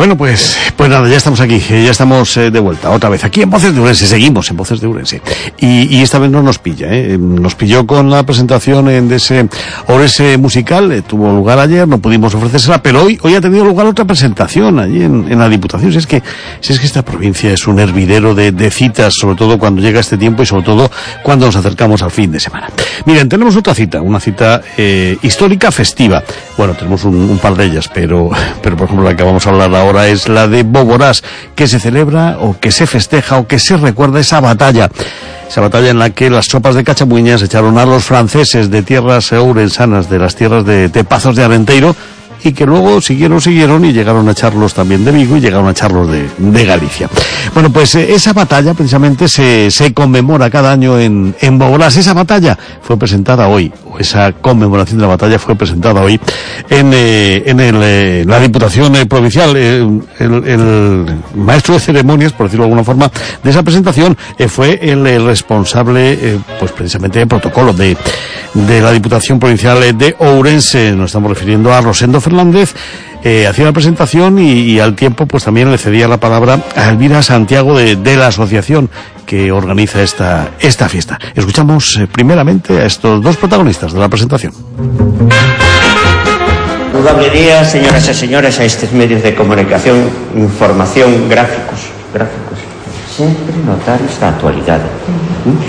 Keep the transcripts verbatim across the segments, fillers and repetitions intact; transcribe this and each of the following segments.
Bueno, pues pues nada, ya estamos aquí, ya estamos eh, de vuelta, otra vez, aquí en Voces de Ourense, seguimos en Voces de Ourense. Y, y esta vez no nos pilla, ¿eh? Nos pilló con la presentación en, de ese Ourense musical, eh, tuvo lugar ayer, no pudimos ofrecérsela, pero hoy hoy ha tenido lugar otra presentación allí en, en la Diputación. Si es que si es que esta provincia es un hervidero de, de citas, sobre todo cuando llega este tiempo y sobre todo cuando nos acercamos al fin de semana. Miren, tenemos otra cita, una cita eh, histórica festiva. Bueno, tenemos un, un par de ellas, pero, pero por ejemplo la que vamos a hablar ahora es la de Boborás, que se celebra o que se festeja o que se recuerda esa batalla. Esa batalla en la que las tropas de Cachamuiñas echaron a los franceses de tierras ourensanas, de las tierras de, de Pazos de Arenteiro, y que luego siguieron, siguieron y llegaron a echarlos también de Vigo y llegaron a echarlos de, de Galicia. Bueno, pues eh, esa batalla precisamente se, se conmemora cada año en, en Boborás. Esa batalla fue presentada hoy, o esa conmemoración de la batalla fue presentada hoy en, eh, en el, eh, la Diputación eh, Provincial. Eh, el, el maestro de ceremonias, por decirlo de alguna forma, de esa presentación eh, fue el, el responsable, eh, pues precisamente de protocolo de, de la Diputación Provincial de Ourense. Nos estamos refiriendo a Rosendo Fernández. Eh, hacía la presentación y, y al tiempo pues también le cedía la palabra a Elvira Santiago de, de la asociación que organiza esta, esta fiesta. Escuchamos eh, primeramente a estos dos protagonistas de la presentación. Saludable día, señoras e señores, a estes medios de comunicación, información, gráficos, gráficos. Sempre notar esta actualidade.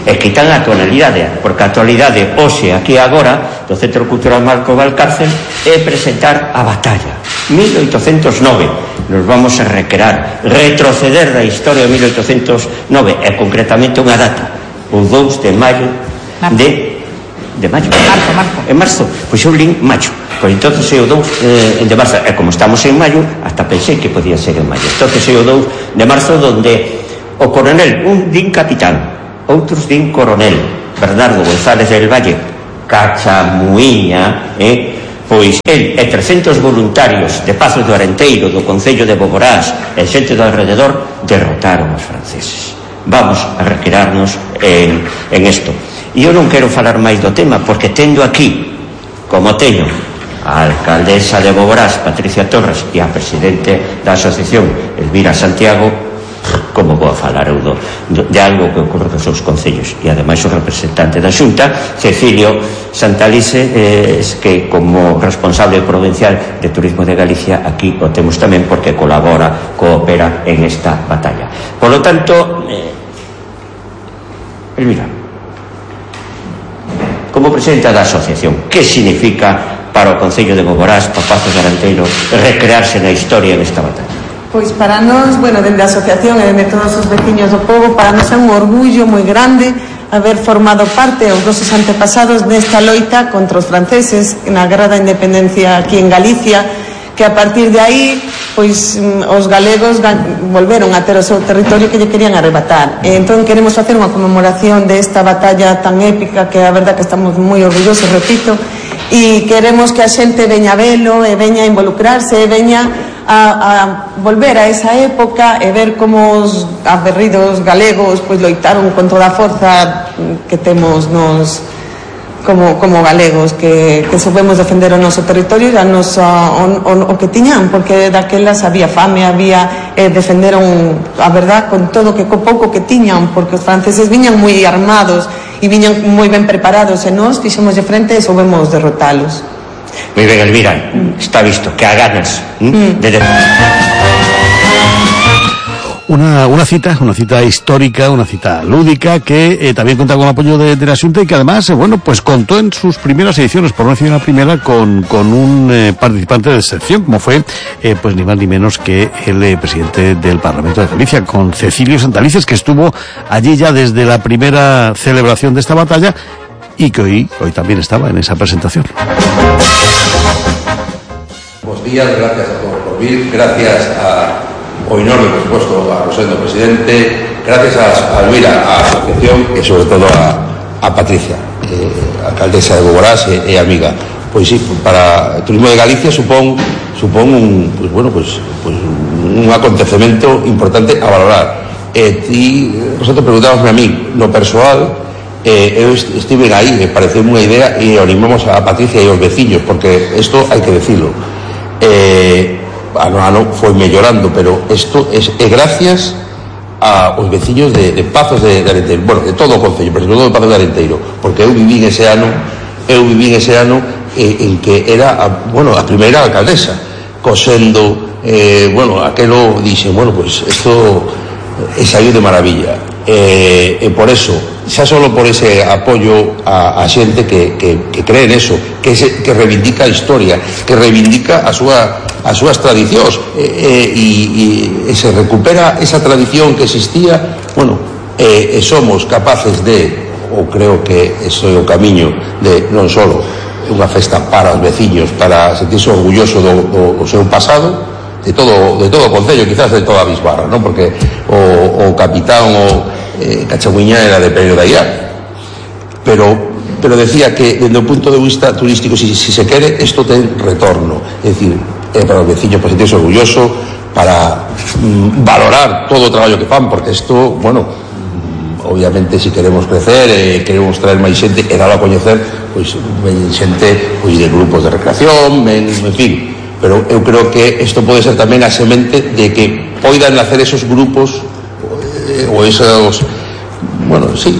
E quitan a actualidade, porque a actualidade, hoxe, aquí agora, do Centro Cultural Marco Valcárcel, é presentar a batalla. mil oitocentos nove. Nos vamos a recrear, retroceder da historia de mil oitocentos nove, e concretamente unha data, o dous de maio de... de maio? Marzo, marzo. En marzo, pois eu lin maio. Pois entonces é o dous eh, de marzo, e como estamos en maio, hasta pensei que podía ser en maio. Entonces é o dous de marzo, donde o coronel, un din capitán, outros din coronel, Bernardo González del Valle, Cachamuiña, eh, pois el e trescentos voluntarios de Pazos de Arenteiro, do Concello de Boborás e xente do alrededor, derrotaron os franceses. Vamos a recrearnos en, en esto. E eu non quero falar máis do tema, porque tendo aquí, como teño, a alcaldesa de Boborás, Patricia Torres, e a presidente da asociación, Elvira Santiago, como vou a falar eu do, de algo que ocorre nos seus concellos, e ademais o representante da Xunta, Cecilio Santalice, eh, que como responsable provincial de Turismo de Galicia aquí o temos tamén, porque colabora, coopera en esta batalla. Por lo tanto, eh, Elvira, como presidenta da asociación, que significa para o Concello de Boborás, para Pazos de Arenteiro, recrearse na historia nesta batalla? Pois para nós, bueno, dende a asociación e dende todos os veciños do povo, para nós é un orgullo moi grande haber formado parte os nosos antepasados nesta loita contra os franceses na Guerra da Independencia aquí en Galicia, que a partir de aí, pois os galegos volveron a ter o seu territorio que lle querían arrebatar. E entón queremos facer unha conmemoración desta batalla tan épica, que a verdad que estamos moi orgullosos, repito, e queremos que a xente veña a velo e veña a involucrarse e veña a, a volver a esa época e ver como os aguerridos galegos pois loitaron con toda a forza que temos nos como, como galegos, que, que soubemos defender o noso territorio e a nosa, o, o, o que tiñan, porque daquelas había fame, había eh, defenderon a verdad con todo que co pouco que tiñan, porque os franceses viñan moi armados e viñan moi ben preparados, e nós fixemos de frente e soubemos derrotalos. Moi ben, Elvira, mm. está visto que a ganas mm. de... Una, una cita, una cita histórica, una cita lúdica, que eh, también cuenta con el apoyo de, de la Xunta y que además, eh, bueno, pues contó en sus primeras ediciones, por no decir la primera, con, con un eh, participante de excepción, como fue, eh, pues ni más ni menos que el eh, presidente del Parlamento de Galicia, con Cecilio Santalices, que estuvo allí ya desde la primera celebración de esta batalla y que hoy, hoy también estaba en esa presentación. Buenos días, gracias a todos por venir, gracias a Oinor, por supuesto, a Rosendo, presidente, gracias a, a Elvira, a la asociación y sobre todo a, a Patricia, eh, alcaldesa de Boborás e, e amiga. Pois sí, para o Turismo de Galicia supón, supón un, pues, bueno, pues, pues, un acontecemento importante a valorar. E ti, Rosendo, preguntábamos a mí, no persoal, eh, eu estive aí, me pareceu unha idea e animamos a Patricia e aos veciños, porque isto hai que decirlo. Eh, ano a ano foi mellorando, pero isto é, é gracias aos veciños de, de Pazos de, de Arenteiro, bueno, de todo o concello, pero sobre todo de Pazos de Arenteiro, porque eu viví ese ano, eu viví ese ano eh, en que era, a, bueno, a primeira alcaldesa, cosendo, eh, bueno, aquelo dixen, bueno, pues isto é saiu de maravilla, e eh, eh, por eso, xa solo por ese apoio a, a xente que, que, que cree en eso, que, se, que reivindica a historia, que reivindica a súa as súas tradicións e, e, e se recupera esa tradición que existía, bueno, e, e somos capaces de, ou creo que ese é o camiño de non só unha festa para os veciños, para sentirse orgulloso do, do, do seu pasado, de todo de todo o concello, quizás de toda a Bisbarra, non? Porque o, o capitán o eh, Cachagüiñá era de Pereiro de Aguiar, pero pero decía que desde o punto de vista turístico, si, si se quere, isto ten retorno, é dicir, é para os veciños para sentirse orgulloso, para mm, valorar todo o traballo que fan, porque isto, bueno, mm, obviamente si queremos crecer e eh, queremos traer máis xente e dalo a coñecer, pois ven xente pois, de grupos de recreación, ven, en fin, pero eu creo que isto pode ser tamén a semente de que poidan nacer esos grupos eh, ou esos, bueno, sí,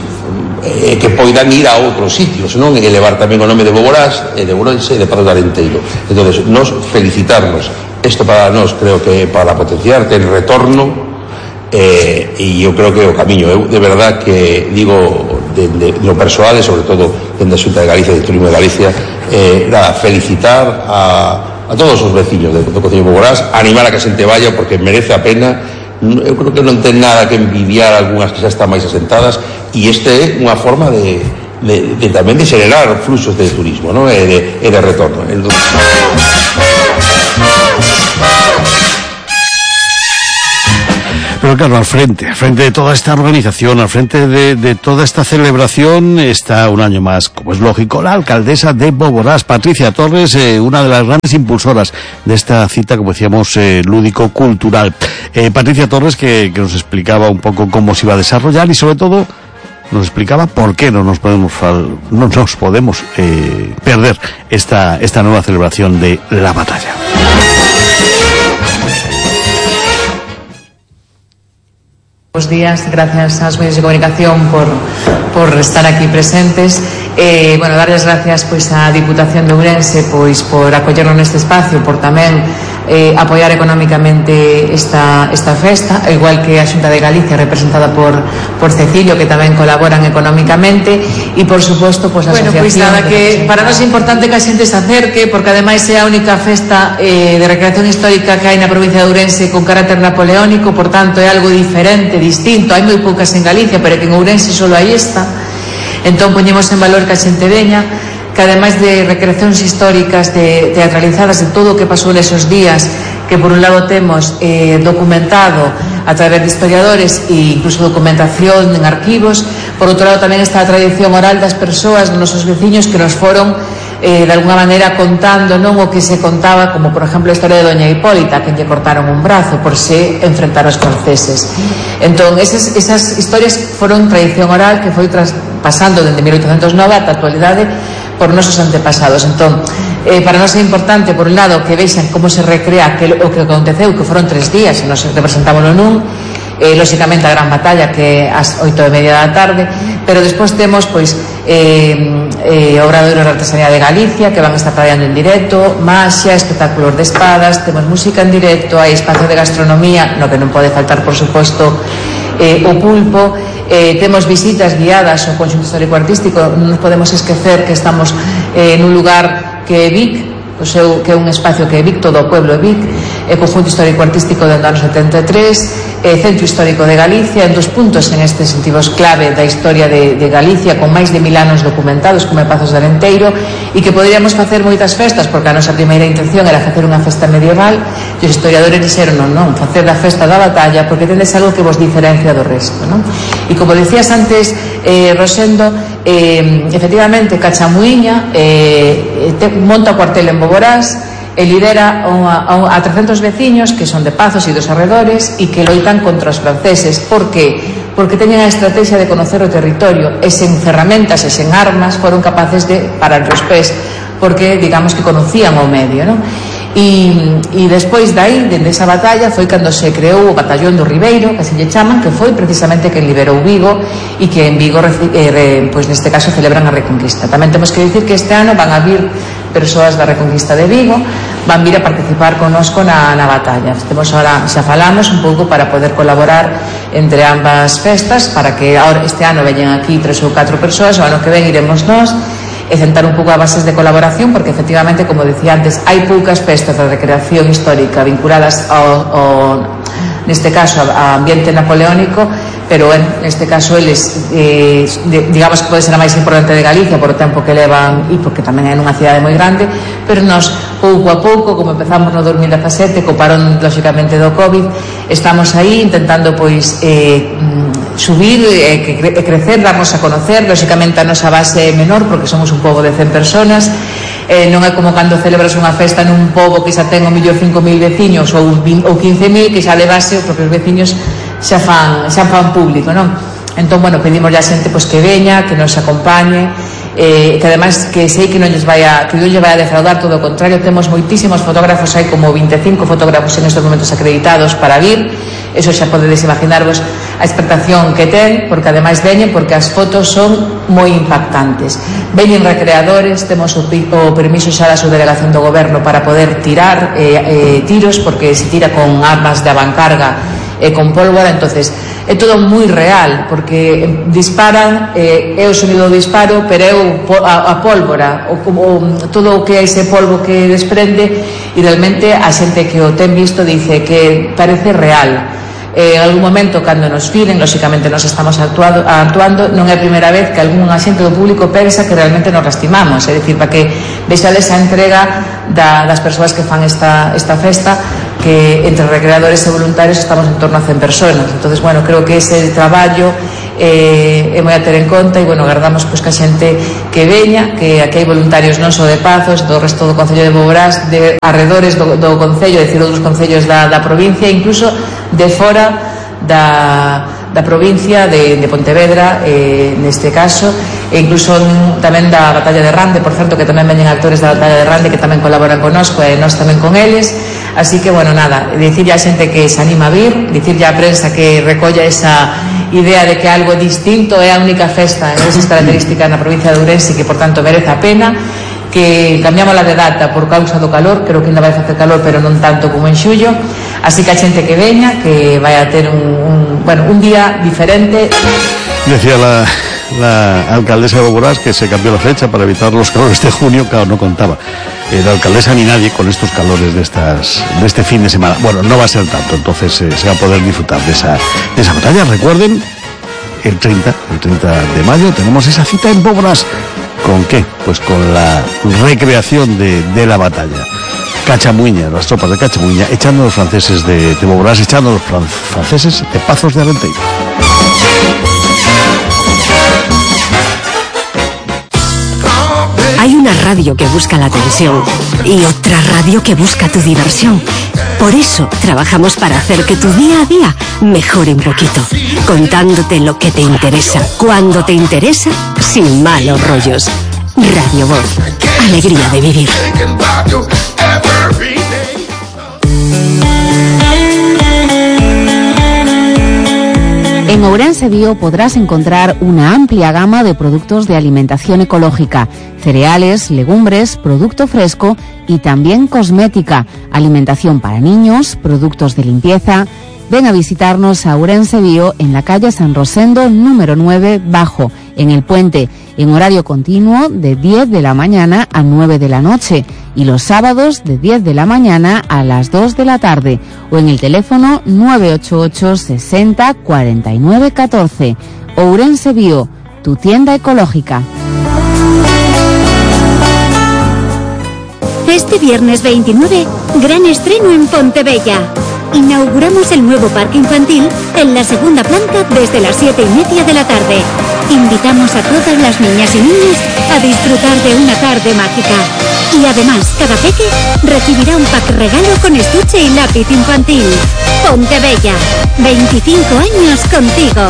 eh, que poidan ir a outros sitios, non? E elevar tamén o nome de Boborás e de Ourense e de Pazos de Arenteiro. Entonces, nos felicitarnos, isto para nós creo que para potenciar ten retorno, eh, e eu creo que o camiño, eu de verdad que digo de, de, de lo persoal e sobre todo dende a Xunta de Galicia, de Turismo de Galicia, eh, era felicitar a, a todos os veciños do, do Concello de Boborás, animar a que a xente vaya porque merece a pena. Eu creo que non ten nada que envidiar algunhas que xa están máis asentadas, e este é unha forma de, de, de tamén de xenerar fluxos de turismo, non? E de, e de retorno. Entonces... Pero claro, al frente, al frente de toda esta organización, al frente de, de toda esta celebración, está un año más, como es lógico, la alcaldesa de Boborás, Patricia Torres, eh, una de las grandes impulsoras de esta cita, como decíamos, eh, lúdico-cultural. Eh, Patricia Torres, que, que nos explicaba un poco cómo se iba a desarrollar y sobre todo nos explicaba por qué no nos podemos, no nos podemos eh, perder esta, esta nueva celebración de la batalla. Buenos días, gracias a los medios de comunicación por, por estar aquí presentes. Eh, bueno, darles gracias pois á Diputación de Ourense pois por acollernos neste espacio, por tamén eh, apoiar económicamente esta, esta festa, igual que a Xunta de Galicia representada por, por Cecilio, que tamén colaboran económicamente, e por suposto pois a bueno, asociación. Pois nada, que para nós é importante que a xente se acerque, porque ademais é a única festa eh, de recreación histórica que hai na provincia de Ourense con carácter napoleónico, por tanto é algo diferente, distinto, hai moi poucas en Galicia, pero que en Ourense solo hai esta. Entón poñemos en valor que a xente veña, que ademais de recreacións históricas de, teatralizadas de todo o que pasou nesos días, que por un lado temos eh, documentado a través de historiadores e incluso documentación en arquivos, por outro lado tamén está a tradición oral das persoas, dos nosos veciños que nos foron eh, de alguna maneira contando non o que se contaba, como por exemplo a historia de Doña Hipólita, que lle cortaron un brazo por se enfrentar aos franceses. Entón, esas, esas historias foron tradición oral que foi tras, pasando dende mil oitocentos nove ata a actualidade por nosos antepasados. Entón, eh, para nós é importante, por un lado, que vexan como se recrea que, o que aconteceu, que foron tres días, e nos representámoslo nun, eh, lóxicamente a gran batalla que ás oito e media da tarde, pero despois temos pois eh, eh, obradoiros de artesanía de Galicia que van a estar traballando en directo, maxia, espectáculos de espadas, temos música en directo, hai espacio de gastronomía, no que non pode faltar por suposto eh, o pulpo, eh, temos visitas guiadas ao conxunto histórico-artístico, non nos podemos esquecer que estamos eh, nun lugar que é Vic, o seu, que é un espacio que é Vic, todo o pueblo é Vic, é conjunto histórico-artístico do ano setenta e tres, é Centro Histórico de Galicia, en dos puntos en este sentido clave da historia de, de Galicia, con máis de mil anos documentados, como é Pazos de Arenteiro, e que poderíamos facer moitas festas, porque a nosa primeira intención era facer unha festa medieval, e os historiadores dixeron, non, non, facer da festa da batalla, porque tendes algo que vos diferencia do resto, non? E como decías antes, eh, Rosendo, eh, efectivamente, Cachamuiña eh, te, monta o cuartel en Boborás, e lidera a, a, a trescentos veciños que son de Pazos e dos arredores e que loitan contra os franceses. Por que? Porque teñen a estrategia de conocer o territorio e sen ferramentas e sen armas foron capaces de parar os pés, porque digamos que conocían o medio, non? e, e despois dai, dende esa batalla, foi cando se creou o Batallón do Ribeiro, que se lle chaman, que foi precisamente quen liberou Vigo e que en Vigo, eh, pois neste caso, celebran a Reconquista. Tamén temos que dicir que este ano van a vir persoas da Reconquista de Vigo, van vir a participar connosco na, na batalla. Temos ahora, xa falamos un pouco para poder colaborar entre ambas festas, para que ahora, este ano veñen aquí tres ou catro persoas, o ano que ven iremos nós, e sentar un pouco a bases de colaboración, porque efectivamente, como dicía antes, hai poucas festas de recreación histórica vinculadas ao, ao neste caso ao ambiente napoleónico, pero en este caso eles eh, digamos que pode ser a máis importante de Galicia por o tempo que levan e porque tamén é nunha cidade moi grande, pero nós pouco a pouco, como empezamos no dos mil dezasete co parón lóxicamente do COVID, estamos aí intentando pois eh, subir e eh, crecer, darnos a conocer. Lóxicamente a nosa base é menor porque somos un pobo de cen personas, eh, non é como cando celebras unha festa nun pobo que xa ten o millor cinco mil veciños ou, ou quince mil, que xa levase os propios veciños xa fan, xa fan público, non? Entón, bueno, pedimos a xente pois, que veña, que nos acompañe, eh, que ademais que sei que non lles vai a, que non lles vai a defraudar, todo o contrario, temos moitísimos fotógrafos, hai como vinte e cinco fotógrafos en estes momentos acreditados para vir, eso xa podedes imaginarvos a expectación que ten, porque ademais veñen porque as fotos son moi impactantes. Veñen recreadores, temos o, o permiso xa da subdelegación do goberno para poder tirar eh, eh, tiros, porque se tira con armas de avancarga e con pólvora, entonces é todo moi real, porque disparan, eh, é o sonido do disparo, pero é o, a, a pólvora, o, o, todo o que é ese polvo que desprende, e realmente a xente que o ten visto dice que parece real. Eh, en algún momento, cando nos viren, lóxicamente nos estamos actuado, actuando, non é a primeira vez que algún agente do público pensa que realmente nos lastimamos, é dicir, para que vexades a entrega da, das persoas que fan esta, esta festa, que entre recreadores e voluntarios estamos en torno a cen personas. Entonces, bueno, creo que ese traballo eh, é moi a ter en conta, e, bueno, agardamos pois, que a xente que veña, que aquí hai voluntarios non só de Pazos, do resto do Concello de Boborás, de arredores do, do Concello, é dicir, outros concellos da, da provincia, incluso de fora da, da provincia de, de Pontevedra, eh, neste caso, e incluso tamén da Batalla de Rande, por certo, que tamén veñen actores da Batalla de Rande que tamén colaboran connosco e nós tamén con eles. Así que, bueno, nada, dicirlle a xente que se anima a vir, dicirlle a prensa que recolla esa idea de que algo distinto é a única festa en esas características na provincia de Ourense, que por tanto merece a pena, que cambiamos la de data por causa do calor, creo que ainda vai facer calor, pero non tanto como en xullo, así que a xente que veña, que vai a ter un, un, bueno, un día diferente. Decía la, la alcaldesa de Boborás que se cambió la fecha para evitar los calores de junio. Claro, no contaba eh, la alcaldesa ni nadie con estos calores de estas de este fin de semana. Bueno, no va a ser tanto, entonces eh, se va a poder disfrutar de esa, de esa batalla. Recuerden, el treinta, el treinta de mayo tenemos esa cita en Boborás. ¿Con qué? Pues con la recreación de, de la batalla. Cachamuña, las tropas de Cachamuña, echando a los franceses de, de Boborás, echando a los fran franceses de Pazos de Arenteiro. Hay una radio que busca la atención y otra radio que busca tu diversión. Por eso trabajamos para hacer que tu día a día mejore un poquito, contándote lo que te interesa, cuando te interesa, sin malos rollos. Radio Voz, alegría de vivir. En Ourense Bio podrás encontrar una amplia gama de productos de alimentación ecológica, cereales, legumbres, producto fresco y también cosmética, alimentación para niños, productos de limpieza. Ven a visitarnos a Ourense Bio en la calle San Rosendo número nueve Bajo, en el Puente, en horario continuo de diez de la mañana a nueve de la noche y los sábados de diez de la mañana a las dos de la tarde, o en el teléfono nueve ocho ocho sesenta cuarenta y nueve catorce. Ourense Bio, tu tienda ecológica. Este viernes veintinueve, gran estreno en Pontebella. Inauguramos el nuevo parque infantil en la segunda planta desde las siete y media de la tarde. Invitamos a todas las niñas y niños a disfrutar de una tarde mágica. Y además, cada peque recibirá un pack regalo con estuche y lápiz infantil. Pontebella, veinticinco años contigo.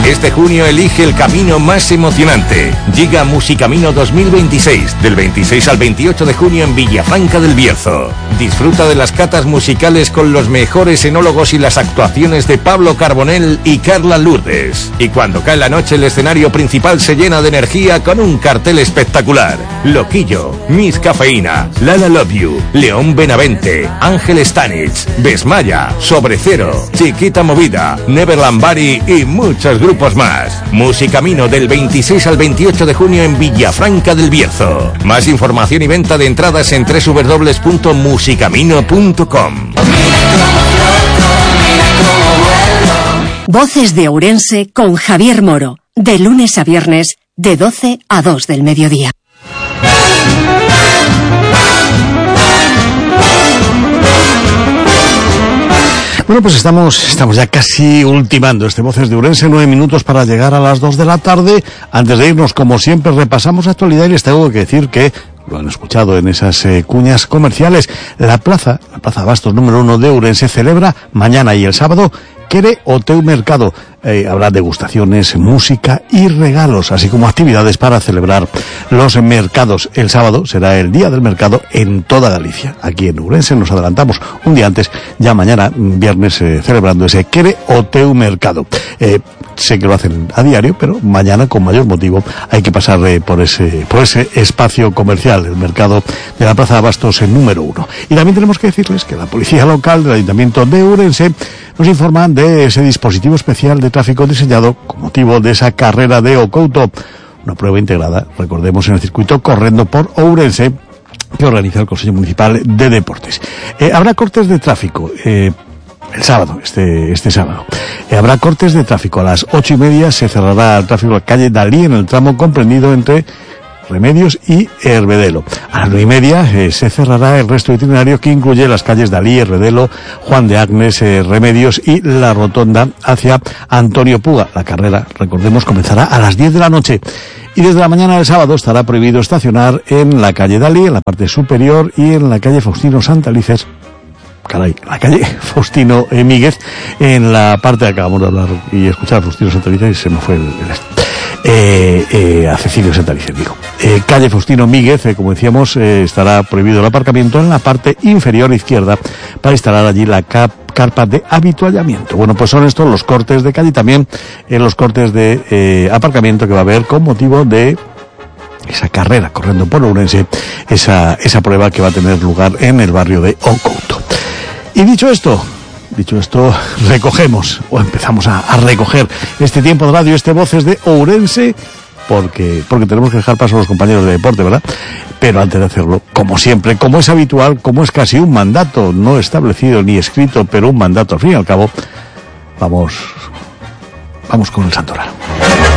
Este junio elige el camino más emocionante. Llega Musicamino dos mil veintiséis, del veintiséis al veintiocho de junio en Villafranca del Bierzo. Disfruta de las catas musicales con los mejores enólogos y las actuaciones de Pablo Carbonell y Carla Lourdes. Y cuando cae la noche, el escenario principal se llena de energía con un cartel espectacular. Loquillo, Miss Cafeína, Lala Love You, León Benavente, Ángel Stanich, Besmaya, Sobre Cero, Chiquita Movida, Neverland Bari y muchos grupos más. Musicamino del veintiséis al veintiocho de junio en Villafranca del Bierzo. Más información y venta de entradas en doble u doble u doble u punto musicamino punto com. Voces de Ourense con Javier Moro, de lunes a viernes, de doce a dos del mediodía. Bueno, pues estamos, estamos ya casi ultimando este Voces de Ourense, nueve minutos para llegar a las dos de la tarde. Antes de irnos, como siempre, repasamos actualidad y les tengo que decir que, lo han escuchado en esas eh, cuñas comerciales, la plaza, la Plaza Abastos número uno de Ourense celebra mañana y el sábado Quere o Teu Mercado. Eh, habrá degustaciones, música y regalos, así como actividades para celebrar los mercados. El sábado será el día del mercado en toda Galicia. Aquí en Ourense nos adelantamos un día antes, ya mañana, viernes, eh, celebrando ese Quere o Teu Mercado. Eh, sé que lo hacen a diario, pero mañana con mayor motivo hay que pasar eh, por ese por ese espacio comercial, el mercado de la Plaza de Abastos en número uno. Y también tenemos que decirles que la policía local del Ayuntamiento de Ourense nos informan de ese dispositivo especial de tráfico diseñado con motivo de esa carrera de Ocouto, una prueba integrada, recordemos, en el circuito Correndo por Ourense, que organiza el Consejo Municipal de Deportes. Eh, habrá cortes de tráfico eh, el sábado, este este sábado. Eh, habrá cortes de tráfico. A las ocho y media se cerrará el tráfico a la calle Dalí en el tramo comprendido entre Remedios y Hervedelo. A las nueve y media eh, se cerrará el resto de itinerario, que incluye las calles Dalí, Hervedelo, Juan de Agnes, eh, Remedios y la rotonda hacia Antonio Puga. La carrera, recordemos, comenzará a las diez de la noche. Y desde la mañana del sábado estará prohibido estacionar en la calle Dalí, en la parte superior, y en la calle Faustino Santalices, caray, la calle Faustino eh, Míguez, en la parte, acabamos de hablar y escuchar a Faustino Santalices y se me fue el, el Eh, eh, a Cecilio Santalices, digo. Eh, calle Faustino Míguez, eh, como decíamos, eh, estará prohibido el aparcamiento en la parte inferior izquierda para instalar allí la cap carpa de habituallamiento. Bueno, pues son estos los cortes de calle y también eh, los cortes de eh, aparcamiento que va a haber con motivo de esa carrera Correndo por Ourense, esa, esa prueba que va a tener lugar en el barrio de Ocouto. Y dicho esto, Dicho esto, recogemos, o empezamos a, a recoger este tiempo de radio, este Voces de Ourense, porque, porque tenemos que dejar paso a los compañeros de deporte, ¿verdad? Pero antes de hacerlo, como siempre, como es habitual, como es casi un mandato, no establecido ni escrito, pero un mandato al fin y al cabo, vamos, vamos con el Santoral.